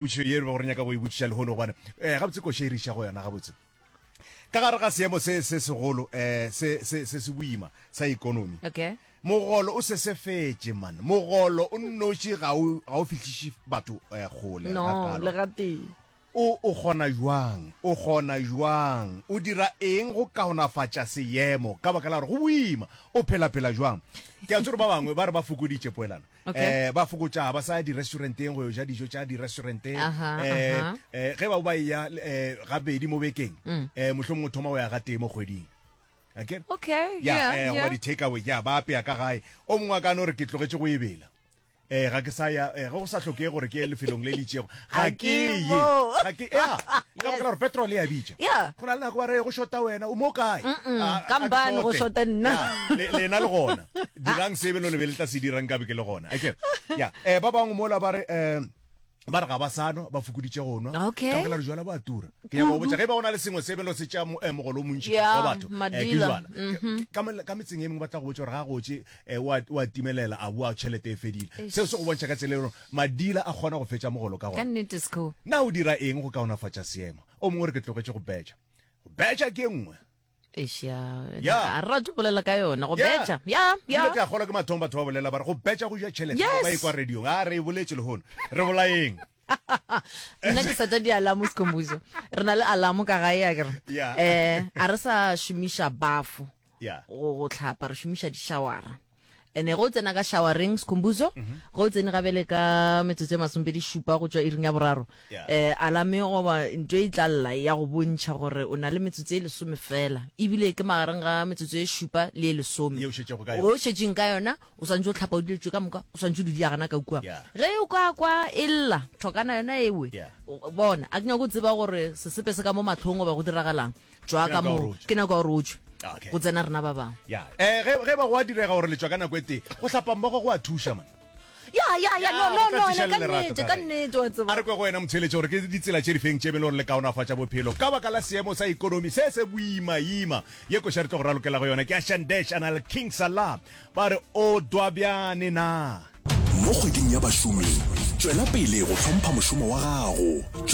Potšišo ye re bego re nyaka go e botšiša lehono, gobane um gabotse koša e re iša go yona gabotse. Ka gare ga seemo se se segolo um se se se se boima sa ekonomi, Okay. mogolo o sesefetše man. Mogolo o nnoši ga o ga o fihliše batho um kgole No, gakalo. le gatee. O o kgona bjang? O kgona bjang? O dira eng go kaonafatša seemo? Ka baka la gore go boima. O phela-phela bjang? Ke a tseba gore ba bangwe ba re ba fokoditše poelano. Okay. Eh, ba fokotša ga ba sa ya di-restauranteng go yo ja dijo tša di-restaurante. Aha, Eh, aha. eh, ge ba ba eya eh, gabedi mo bekeng, Mm. eh, mohlomongwe o thoma go ya gatee mo kgweding. Akere? Okay, Ya, yeah, eh, goba yeah. di-takeaway, ya, ba apea ka gae. O mongwe a ka no re ke tlogetše go ebela. Eh, ga ke sa ya, eh, ge go sa hlokege gore ke ye lefelong le le itšego, ga Ga ke ke ye. mo. Ga ke, ya, ka baka la gore petrol e a bitša. Yeah. Go na le nako ba re go shota wena, o mo kae? Mm-mm, A- ka a ke mbane go shote. shota nna. Ya, le, lena le gona. Dirang se beno le be le tla se dirang nkabe ke le gona. Akere? Ya, eh, ba bangwe mola ba re, eh, ba re ga ba sa nwa, ba fokoditše go nwa. Okay. Ka baka la gore jwala bo a tura. Ke nyaka go botša, ge e ba go na le sengwe se beno se tšea mo- eh, mogolo o montši Yeah, wa batho, eh, ke madila. jwala. Ka mo- ka metseng e mengwe ba tla go botša gore ga gotše eh, o a- o a timelela, a boa tšhelete e fedile. Seo se go bontšha ka tsela e leng gore madila a kgona go fetša mogolo ka Ka gona. nnete, Sco. Na o dira eng go kaonafatša seemo? O mongwe o re ke tlogetše go betša. Go betša ke e nngwe. Eish, ya. Ya. A re rate go bolela ka yona, go Ya. betša. Ya, ya. Ebile ke a kgolwa ke mathomo batho ba bolela ba re go betša go ja tšhelete. Yes. Ba ekwa radiong. A re e boletše lehono. Re bolayeng. Nna ke seta di-alarm Skhumbuzo. Re na le alarm ka gae akere. Ya. Eh, a re sa šomiša bafo. Ya. Go go hlapa re šomiša di-showera. Ene ge o tsena ka showereng Skhumbuzo, ge o tsene gabele ka metsotso e masomepedi šupa go tšwa iring ya boraro, Yeah. eh, alame goba nto e tla lla ya go bontšha gore o na le metsotso e lesome fela, ebile ke magareng ga metsotso e šupa le e lesome. Ye o šetšego ka yona. O šetšeng ka yona, o swantše o hlapa o dilo tše ka moka, o swantše o di dia gana ka kua. Yeah. Ge o ka kwa e lla, thokana yona ewe, Yeah. o- bona, a ke nyako tseba gore sesepe se ka mo mahlong goba go diragalang. Tšwa ka mo, ke nako ya gore o tšwe. Okay. Go tsena rena ba bangwe. Ya. Eh, ge ge ba go a direga gore le tšwa ka nako e tee, go hlapa mmogo go a thuša man. Ya, ya, ya, no, Ya, no, go tla no, tiiša ka le lerato nnete, ka ka gae. nnete, wa tseba. A re kwe go wena motheeletši gore ke ditsela tše difeng tše e le gore le kaonafatša bophelo ka baka la seemo sa ekonomi se se boimaima. Ye koša re tlo go ralokela go yona ke ya Shandesh a na le King Salah ba re o dwabjane na. Mo kgweding ya bašomi, tšwela pele go hlompha mošomo wa gago.